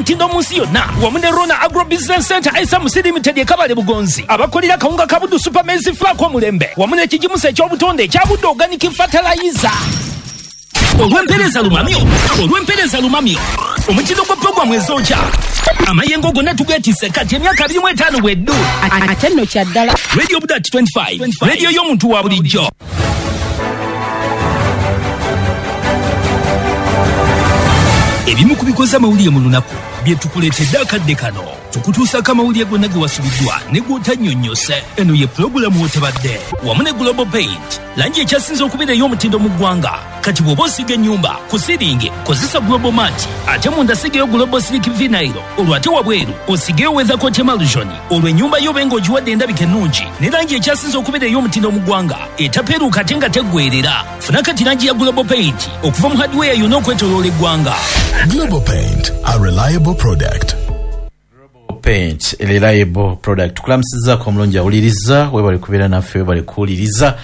Ey'omutindo mu nsi yonna wamu ne Rona Agro Business Center SMC Limited e Kabale Bugonzi abakolera akawunga ka Buddu Super Maize Flour ak'omulembe wamu n'ekigimusa eky'obutonde ekya Buddu Organic Fertilizer. Olw'empeereza lumamyo, olw'empeereza lumamyo, omutindo gwa pulogulaamu ezookya amayengo gonna tugeetisse kati emyaka 25 bweddu. Ate nno kya ddala. Radio Budat 25, radio y'omuntu wa bulijjo. Ebimu ku bikoze amawulire mu lunaku bye tukuleetedde akadde kano. Tukutuusaako amawulire gonna ge wasubiddwa ne gw'otannyonnyose. Eno ye pulogulaamu w'otabadde wamu ne Global Paint, langi ekyasinze okubeera ey'omutindo mu ggwanga. Kati bw'oba osiiga ennyumba ku siringi kozesa Global Mat, ate munda sigayo Global Silk Vinyl, olwo ate wabweru osigeyo Weathercoat Emulsion, olwo ennyumba yo obe ng'ogiwadde endabika ennungi ne langi ekyasinze okubeera ey'omutindo mu ggwanga etapeeruuka ate nga teggweerera. Funa kati langi ya Global Paint okuva mu hardware yonna okwetooloola eggwanga. Global Paint, a reliable product. Global Paint, a reliable product. Tukulamusizaku omulungi awuliriza, webale kubeera naffe, webale kuwuliriza,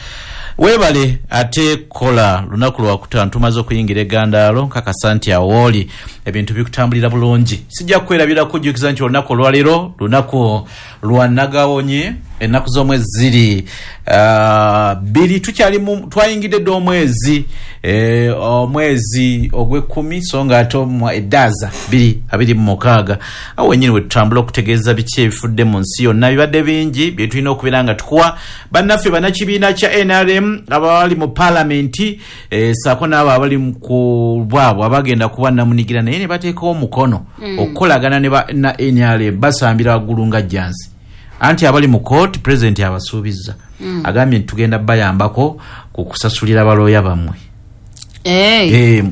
webale ate kola. Lunaku lwakutaano tumaze okuyingira egandaalo, nkakasa nti awooli ebintu bikutambulira bulungi. Sijja kwerabira kujjukiza nti olunaku olwaleero lunaku lwa nagawonye, ennaku z'omwezi ziri bbiri, tukyali twayingidde dda omwezi omwezi ogw'ekkumi, so nga ate eddaaza 2026. Awo wennyini we tutambula okutegeeza biki ebifudde mu nsi yonna. Bibadde bingi bye tulina okubeera nga tukuwa bannaffe bannakibiina kya NRM abali mu paalamenti, ssaako n'abo abali ku bwabwe abagenda kuba namunigira naye ne bateekawo omukono okukolagana ne na NRM, basambira waggulu nga jjansi. Anti abali mu kooti pulezidenti abasuubizza, agambye nti tugenda bayambako ku kusasulira balooya bammwe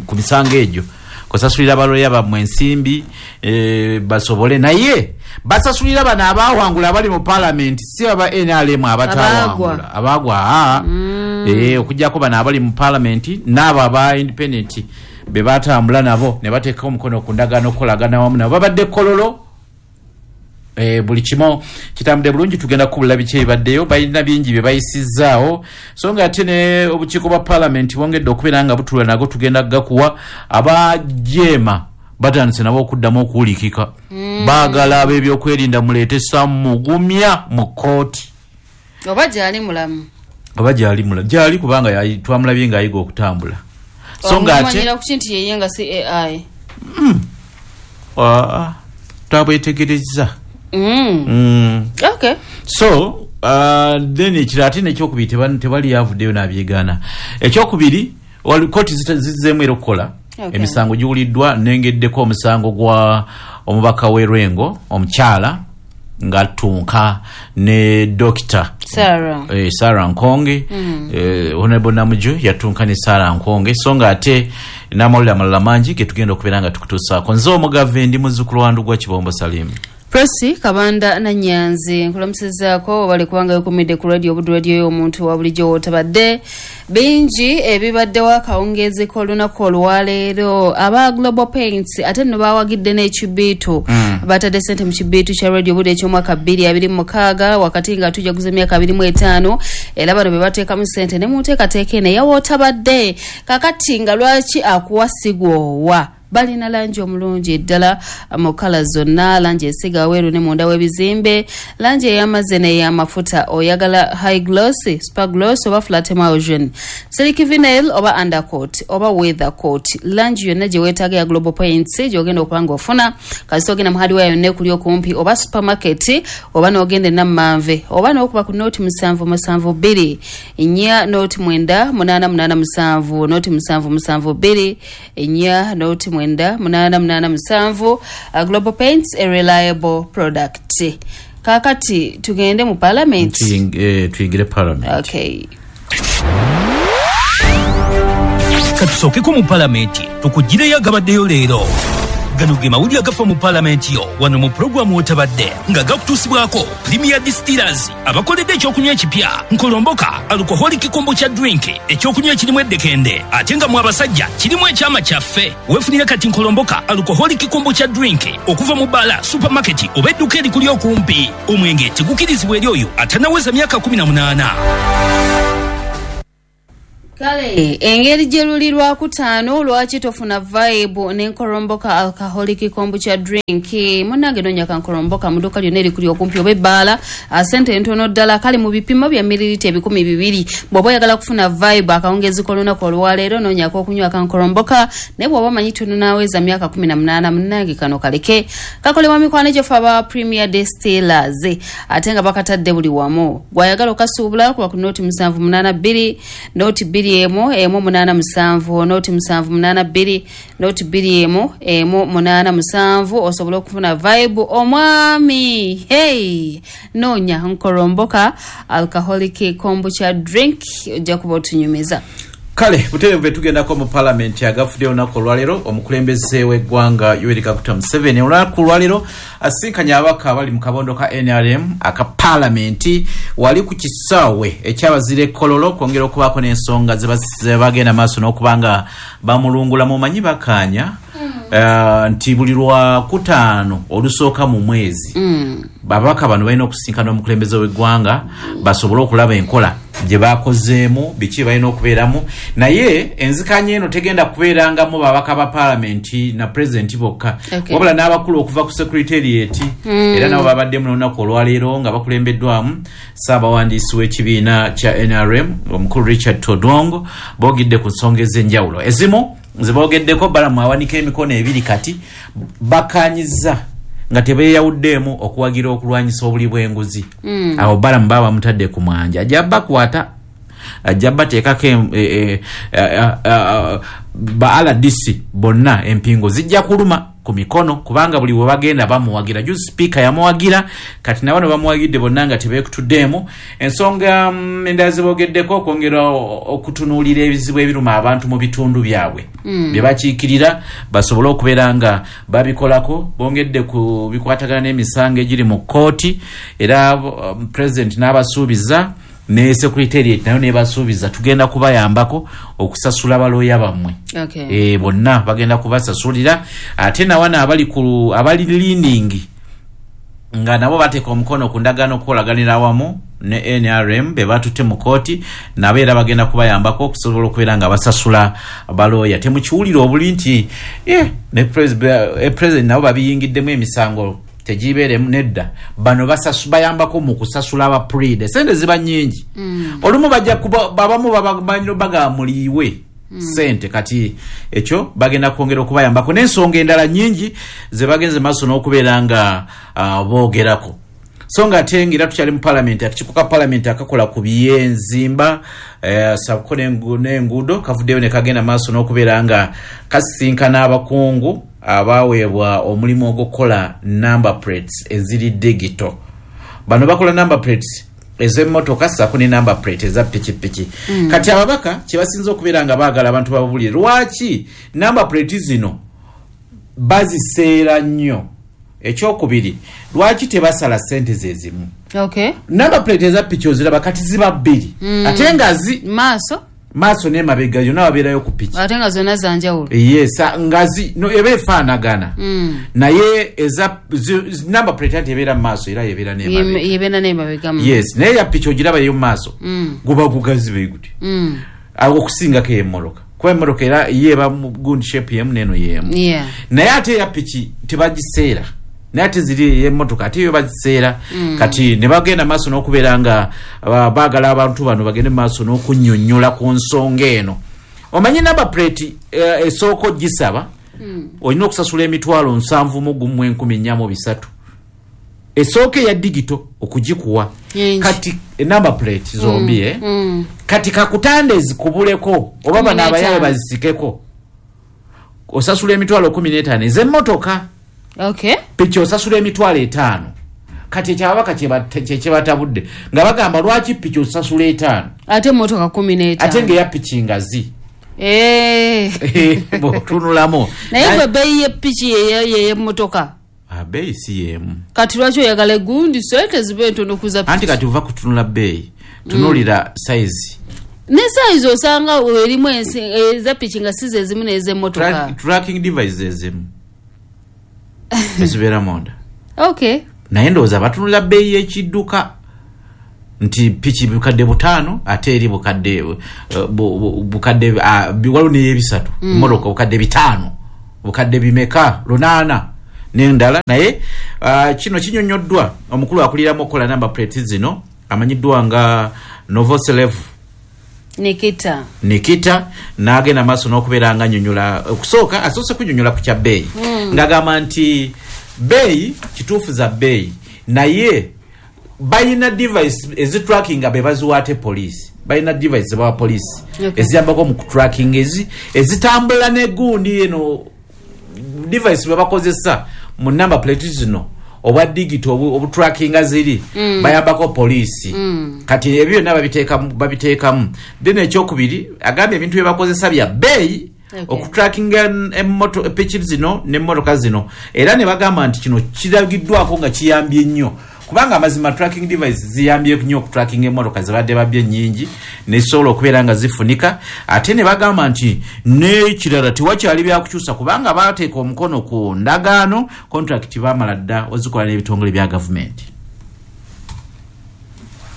ku misango egyo, kusasulira balooya bammwe ensimbi basobole, naye basasulira bano abawangula abali mu paalamenti, si aba NRM abatawangula abagwa, okuggyako bano abali mu paalamenti n'abo aba independent be batambula nabo ne bateeka omukono ku ndagaano okukolagana wamu nabo. Babadde Kololo, buli kimu kitambudde bulungi, tugenda kukubula biki ebibaddeyo, balina bingi bye bayisizzaawo. So nga ate ne obukiiko bwa paalamenti bwongedde okubeera nga butula nago, tugenda gakuwa. Abajeema batandise nabo okuddamu okuwulikika, baagala ab'ebyokwerinda muleete Sam Mugumya mu kkooti. Oba gyali mulamu? Oba gyali mulamu, gyali kubanga twamulabye ng'ayiga okutambula. So nga ate omumanyira kuki nti yeye nga si AI? Twabwetegerezza. So then ekirala ate nekyokubiri, tebali yavuddeyo n'abyegaana. Ekyokubiri, kooti zizzeemu era okukola. Emisango giwuliddwa, nengeddeko omusango gwa omubaka w'e Lwengo omukyala ng'attunka ne dokita Sarah. Sarah Nkonge. Honorable Namuju yatunka ne Sarah Nkonge. So nga ate n'amawulire amalala mangi ge tugenda okubeera nga tukutuusaako. Nze omugave ndi muzzukulu wa Ndugwa Kibombo Salimu. Prossy Kabanda Nanyanzi nkulamusizaako, obale kubanga wekumidde ku Radio Buddu, radio y'omuntu wa bulijjo wootabadde. Bingi ebibaddewo akawungeezi k'olunaku olwaleero. Aba Global Paints ate nno bawagidde n'ekibiitu, batadde sente mu kibiitu kya Radio Buddu eky'omwaka 2026 wakati nga tujaguza emyaka 25, era bano be bateekamu sente ne mu nteekateeka eno eyawootabadde. Kakati nga lwaki akuwa sigwowa, balina langi omulungi ddala mu kala zonna, langi esiga aweeru ne munda w'ebizimbe, langi ey'amazzi n'ey'amafuta. Oyagala high gloss, super gloss oba flat emulsion, silk vinyl oba undercoat oba weather coat, langi yonna gye weetaaga ya Global Paints gy'ogenda okuba nga ofuna kasita ogenda mu hardware yonna ekuli okumpi oba supermarket oba n'ogenda enammanve oba n'okuba ku 077 24 098887, 077 24 098887. Global Paints, a reliable product. Kakati tugende mu parliament. Tuyingire parliament. Okay. Katusookeko mu palamenti tukugireyo agabaddeyo leero. Gano ge mawulire agafa mu palamenti yo wano mu pulogulaamu wotabadde, nga gakutuusibwako Premier Distillers abakoledde ekyokunywa ekipya Nkolomboka alcoholic kombucha drink, ekyokunywa ekirimu eddekende ate nga mu abasajja kirimu ekyama kyaffe. Weefunire kati Nkolomboka alcoholic kombucha drink okuva mu bbaala, supermarket oba edduka erikuli okumpi. Omwenge tegukirizibwa eri oyo atanaweza myaka 18. Kale engeri gye luli Lwakutaano, lwaki tofuna vibe n'enkoromboka alcoholic kombucha drink? Munnange, noonya kankoromboka mu dduuka lyonna erikuli okumpi oba ebbaala, sente ntono ddala. Kale mu bipimo bya mililita 200. Bw'oba oyagala kufuna vibe akawungezi k'olunaku olwaleero, noonyako okunywa kankoromboka. Naye bw'oba omanyi tonnaaweza myaka 18, munnange kano kaleke. Kakolebwa mikwano gyaffe aba Premier Distillers, ate nga bakatadde buli wamu. Gwayagala okasuubula, kuba ku 0782 021 187, 0782 021 187, osobole okufuna vibe. Omwami, hey, noonya nkoromboka alcoholic kombucha drink, ojja kuba otunyumiza. Kale buterevu tugendako mu palamenti agafudde olunaku olwaleero. Omukulembeze w'eggwanga Yoweri Kaguta Museveni olunaku olwaleero asinkanye ababaka abali mu kabondo ka NRM aka palamenti wali ku kisaawe ekyabazira ekololo, kwongera okubaako n'ensonga zebagenda maaso n'okuba nga bamulungula. Mumanyi bakaanya nti buli Lwakutaano olusooka mu mwezi babaka bano balina okusinkana omukulembeze w'eggwanga basobole okulaba enkola gye bakozeemu, biki balina okubeeramu. Naye enzikanya eno tegenda kubeerangamu babaka ba palamenti na pulezidenti bokka, wabula n'abakulu okuva ku secretariat era nabo babaddemu n'olunaku olwaleero nga bakulembeddwamu ssaabawandiisi w'ekibiina kya NRM omukulu Richard Todwong. Boogedde ku nsonga ez'enjawulo. Ezimu zebogeddeko, balamu awanika emikono ebiri, kati bakanyiza nga tebeeyawuddeemu okuwagira okulwanyisa obuli bw'enguzi. Awo balamu baba bamutadde ku mwanja, ajja bakwata, ajja bateekako ba RDC bonna, empingo zijja kuluma ku mikono, kubanga buli we bagenda bamuwagira. Juzi sipiika yamuwagira, kati nabano bamuwagidde bonna nga tebeekutuddeemu. Ensonga endala zebogeddeko, okwongera okutunuulira ebizibu ebiruma abantu mu bitundu byabwe bye bakiikirira, basobole okubeera nga babikolako. Bongedde ku bikwatagana n'emisango egiri mu kkooti, era president n'abasuubiza ne secretariat nayo nebasuubiza, tugenda kubayambako okusasula balooya bammwe. Bonna bagenda kubasasulira. Ate nawana abali ku abali leaning nga nabo bateeka omukono ku ndagaano okukolaganira awamu ne NRM be batutte mu kooti, nabo era bagenda kubayambako okusobola okubeera nga basasula balooya. Temukiwulira obuli nti ne president nabo babiyingiddemu, emisango tegibeeremu. Nedda, bano bayambako mu kusasula aba pleader. Sente ziba nnyingi. Olumu bajja kuba babamu bagamuliiwe sente. Kati ekyo bagenda kwongera okubayambako n'ensonga endala nnyingi ze bagenze maaso n'okubeera nga boogerako. So nga ate nga era tukyali mu palamenti, akakiiko ka palamenti akakola ku byenzimba saako n'enguudo kavuddeyo ne kagenda maaso n'okubeera nga kasisinkana abakungu abaweebwa omulimu ogw'okukola number plates eziri digital. Bano bakola number plates ez'emmotoka saako ne number plate eza pikipiki. Kati ababaka kyebasinza okubeera nga baagala abantu bababulire, lwaki number plate zino baziseera nnyo? Ekyokubiri, lwaki tebasala sente zezimu? Number plate eza piki oziraba kati ziba bbiri, ate nga zi maaso maaso n'emabega yonna wabeerayo ku piki. Ate nga zonna zanjawulo. Yes, ngazi no, eba efaanagana naye eza number plate ati ebeera mu maaso era yebeera n'emabega. Yebeera n'emabega. Yes, naye ya piki ogiraba yo mu maaso guba gugazi bwe guti. Awo okusingako ey'emmotoka, kuba emmotoka era ye eba mu gundi shape yemu n'eno yemu. Naye ate eya piki tebagiseera, naye ate ziri ey'emmotoka ate yo bagiseera. Kati ne bagenda maaso n'okubeera nga baagala abantu bano bagende maaso n'okunnyonnyola ku nsonga eno. Omanyi number plate esooka ogisaba olina okusasula 71,403, esooka eya digital okugikuwa. Nyingi. Kati number plate zombi kati kakutande zikubuleko oba bano abayaye 15. bazisikeko, osasula 15,000 ez'emmotoka. Piki osasula 50,000. Kati ekyababaka kyebatabudde nga bagamba, lwaki piki osasula 5 ate emmotoka 15? Ate ngaeya piki ngazi bw'otunulamu. Naye gwe bbeeyi y'epiki yey'emmotoka? Ah, bbeeyi si yeemu. Kati lwaki oyagala egundi sente zibe entono kuza Anti piki? Kati ova kutunula bbeeyi, tunuulira size. Ne size osanga erimu eza piki nga si zezimu n'ez'emmotoka. Tracking devices ezimu ezibeera munda. Naye ndowooza batunula bbeeyi y'ekidduka. Nti piki bukadde 5 ate eri bukadde bukadde waliwo n'ebisatu, emmotoka bukadde 5, bukadde bimeka 8 n'endala. Naye kino kinyonnyoddwa omukulu akuliramu okukola number plate zino amanyiddwa nga Novoselev Nikita n'agenda maaso n'okubeera nga annyonnyola. Okusooka asoose kunnyonnyola ku kya bbeeyi, ng'agamba nti bbeeyi kituufu za bbeeyi, naye balina device ezitrackinga be baziwa ate poliisi. Balina device zebawa poliisi eziyambako mu kutracking ezitambula negundi eno device bwe bakozesa mu number plate zino obwa digital obutrackinga ziri bayambako poliisi. Kati ebyo byonna babiteekamu. Then ekyokubiri agambye ebintu bye bakozesa bya bbeeyi okutrackinga piki zino n'emmotoka zino, era ne bagamba nti kino kiragiddwako nga kiyambye nnyo, kubanga amazima tracking device ziyambye nnyo okutrackinga emmotoka zibadde babbye nnyingi nezisobola okubeera nga zifunika. Ate ne bagamba nti n'ekirala tewakyali byakukyusa, kubanga baateeka omukono ku ndagaano, contract baamala dda ozikola n'ebitongole bya gavumenti.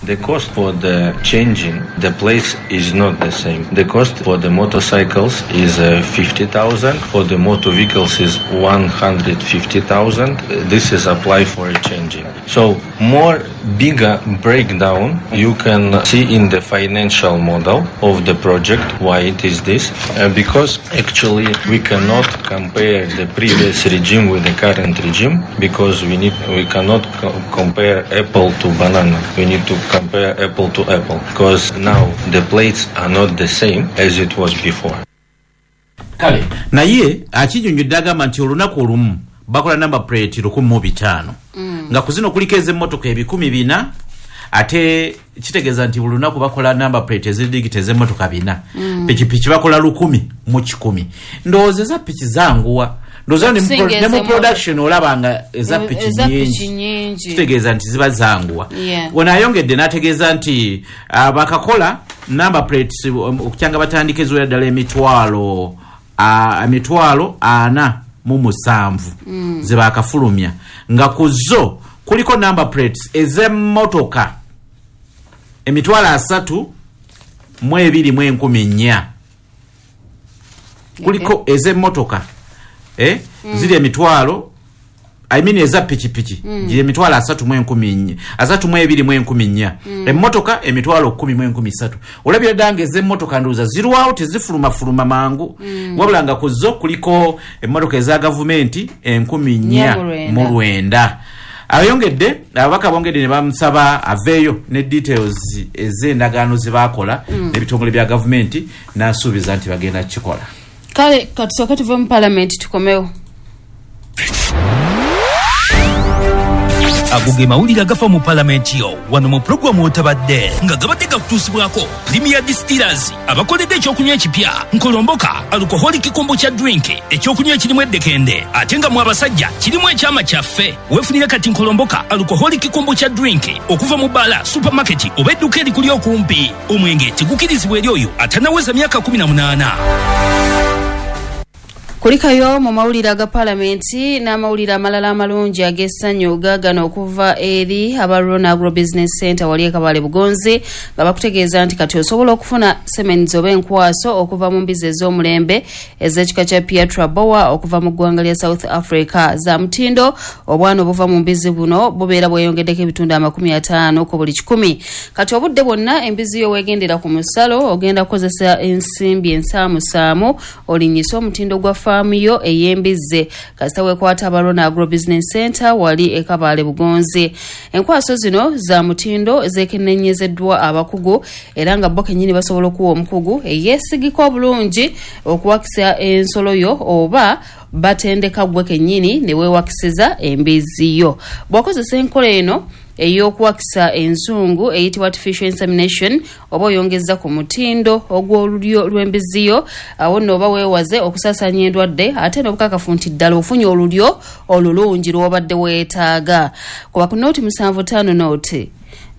The cost for the changing the plates is not the same. The cost for the motorcycles is 50,000, for the motor vehicles is 150,000. This is apply for a changing. So more bigger breakdown you can see in the financial model of the project. Why it is this? Because actually we cannot compare the previous regime with the current regime, because we cannot compare apple to banana. We need to compare apple to apple, because now the plates are not the same as it was before. Kale naye akinyonnyodde agamba nti olunaku olumu bakola number plate 1500, nga ku zino kuliko ez'emmotoka 4,000, ate kitegeeza nti buli lunaku bakola number plate ezidigita ez'emmotoka 400. Pikipiki bakola 1,000 mu 1,000. Ndowooza eza piki zanguwa, ndowooza ne mu production olaba nga eza piki nnyingi, kitegeeza nti ziba zanguwa. Ono ayongedde n'ategeeza nti bakakola number plates okukyanga batandika eziwera ddala emitwalo 47 ze bakafulumya, nga ku zo kuliko number plates ez'emmotoka 32,400. Kuliko ez'emmotoka ziri emitwalo, I mean eza pikipiki giri 32,400, emmotoka 10,300. Olabira ddala nga ez'emmotoka ndowooza zirwawo tezifulumafuluma mangu, wabula nga ku zo kuliko emmotoka eza gavumenti 4,900. Ayongedde ababaka bongedde ne bamusaba aveeyo ne details ez'endagaano ze baakola n'ebitongole bya gavumenti, n'asuubiza nti bagenda kukikola. Kale katusooke tuve mu palamenti tukomewo. Ago ge mawulire agafa mu palamenti yo wano mu pulogulaamu otabadde, nga gabadde gakutuusibwako Premier Distillers abakoledde ekyokunywa ekipya Nkolomboka alcoholic kombucha drink, ekyokunywa ekirimu eddekende ate nga mu abasajja kirimu ekyama kyaffe. Weefunire kati Nkolomboka alcoholic kombucha drink okuva mu bbaala, supermarket oba edduuka erikuli okumpi. Omwenge tegukirizibwa eri oyo atannaweza myaka 18. Kulikayo mu mawulire aga palamenti n'amawulire amalala amalungi ag'essanyu gaagano okuva eri aba Rona Agro Business Center wali e Kabale Bugonzi, nga bakutegeeza nti kati osobola okufuna semens oba enkwaso okuva mu mbizi ez'omulembe ez'ekika kya Piatra Boa okuva mu ggwanga lya South Africa za mutindo. Obwana obuva mu mbizi buno bubeera bweyongeddeko ebitundu 50 ku buli 100. Kati obudde bwonna embizi yo weegendera ku musalo ogenda kukozesa ensimbi ensaamusaamu olinnyise omutindo gwa faamu yo ey'embizzi. Kasita weekwata aba Rona Agro Business Center wali e Kabale Bugonzi. Enkwaso zino za mutindo zeekenneenyezeddwa abakugu, era nga bo kennyini basobola okuwa omukugu eyeesigika obulungi okuwakisa ensolo yo, oba batendeka gwe kennyini ne weewakisiza embizzi yo. Bw'okozesa enkola eno ey'okuwakisa enzungu eyitibwa artificial insemination, oba oyongeza ku mutindo ogw'olulyo lw'embizzi yo, awo nno oba weewaze okusaasaanya endwadde ate n'obukakafu nti ddala ofunye olulyo olulungi lw'obadde weetaaga. Kuba ku 075 0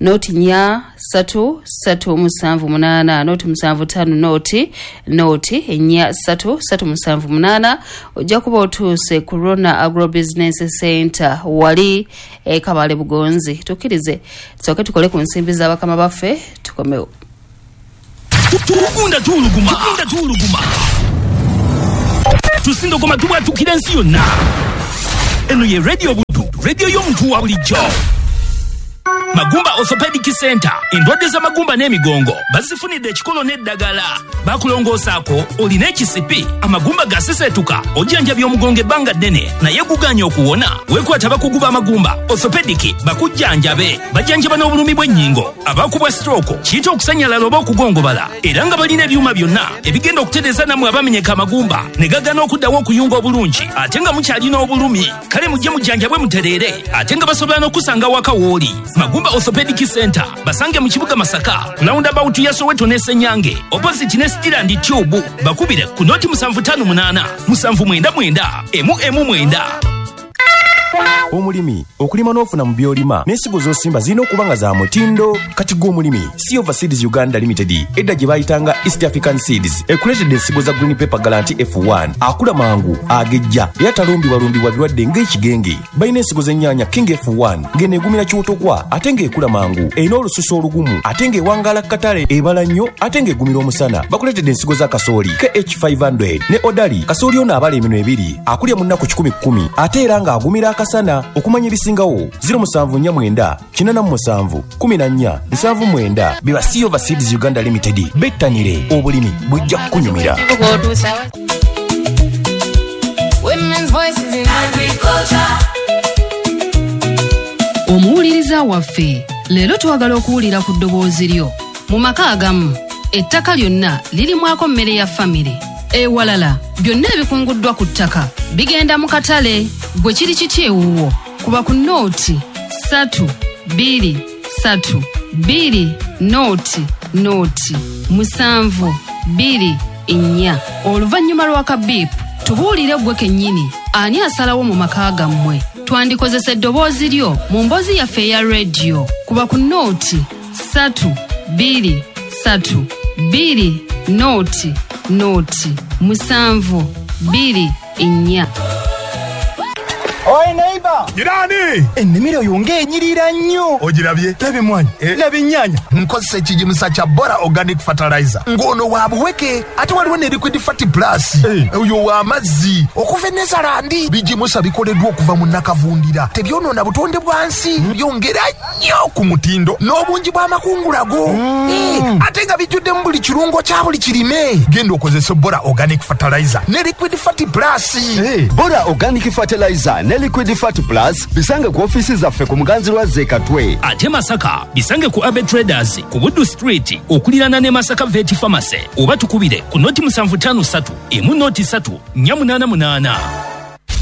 noti 4 3 3 7 8 noti 7 5 noti noti 4 3 3 7 8. Ojja kuba otuuse ku Rona Agro Business Center wali Kabale Bugonzi. Tukkirize tusooke tukole ku nsimbi z'abakama baffe tukomewo. Tugunda tuuluguma, tuuluguma, tusindogoma tubwatukira ensi yonna. Eno ye Radio Buddu, radio y'omuntu wa bulijjo. Magumba Orthopedic Center, endwadde z'amagumba n'emigongo bazifunidde ekikolo n'eddagala. Bakulongoosaako olina ekisipi, amagumba gaseseetuka, ojjanjabya omugongo ebbanga ddene naye guganye okuwona. Weekwata bakugu b'amagumba orthopedic bakujjanjabe. Bajjanjaba n'obulumi bw'ennyingo, abakubwa stroke, kiyita okusanyalala oba okugongobala, era nga balina ebyuma byonna ebigenda okutereeza nammwe abamenyeka amagumba ne gagana okuddawo okuyunga obulungi ate nga mukyalina obulumi. Kale mujje mujjanjabwe mutereere, ate nga basobola n'okusanga waka w'oli. Magumba Orthopedic Center basange mu kibuga Masaka, roundabout ya Soweto ne Senyange, opposite ne Stiland Tube. Bakubire ku noti 758 799 emu 9. Omulimi okulima n'ofuna mu by'olima n'ensigo z'osimba zirina okuba nga za mutindo. Kati gwe omulimi, Silver Seeds Uganda Limited, edda gye bayitanga East African Seeds, ekuleetedde ensigo za Green Pepper Guarantee F1, akula mangu, agejja era talumbibwalumbibwa birwadde ng'ekigenge. Balina ensigo z'ennyaanya King F1, ng'eno egumira kiwotokwa ate ng'ekula mangu, erina olususu olugumu ate ng'ewangaala ku katale, ebala nnyo ate ng'egumira omusana. Bakuleetedde ensigo za kasooli KH500 ne Odali. Kasooli ono abala eminwe ebiri, akulya mu nnaku 110 ate era ng'agumira akasana. Okumanya ebisingawo, 0749 87 14 79. Biba Silver Seeds Uganda Limited. Bettanire obulimi, bujja kukunyumira. Women's voices in agriculture. Omuwuliriza waffe, leero twagala okuwulira ku ddoboozi lyo. Mu maka agamu ettaka lyonna lirimwako mmere ya famire, ewalala byonna ebikunguddwa ku ttaka bigenda mu katale. Gwe kiri kiti ewuwo? Kuba ku nooti 3 2 3 2 nooti nooti 7 2 4. Oluvannyuma lwa kabiipu tubuulire gwe kennyini ani asalawo mu maka gammwe. Twandikozesa eddoboozi lyo mu mboozi yaffe eya rediyo. Kuba ku nooti 3 2 3 2 nooti nooti 7 2 4. Oi neighbor! Jirani! Ennimiro yo ng'enyirira nnyo. Ogirabye? Laba emmwanyi, laba ennyaanya. Nkozesa ekigimusa kya Bora Organic Fertilizer. Ng'ono wa buweke, ate waliwo ne Liquid Fat Plus. Oyo wa mazzi. Okuva e Netherland, bigimusa bikoleddwa okuva mu nakavundira. Tebyonoona butonde bwa nsi, byongera nnyo ku mutindo n'obungi bw'amakungula go. Ate nga bijjuddemu buli kirungo kya buli kirime. Genda okozese Bora Organic Fertilizer ne Liquid Fat Plus. Bora Organic Fertilizer ne Liquid Fat Plus bisange ku ofiisi zaffe ku Muganzi lwa Zekatwe. Ate Masaka bisange ku Abe Traders ku Buddu Street okuliraana ne Masaka Vet Pharmacy, oba tukubire ku noti 753 emu noti 3 488.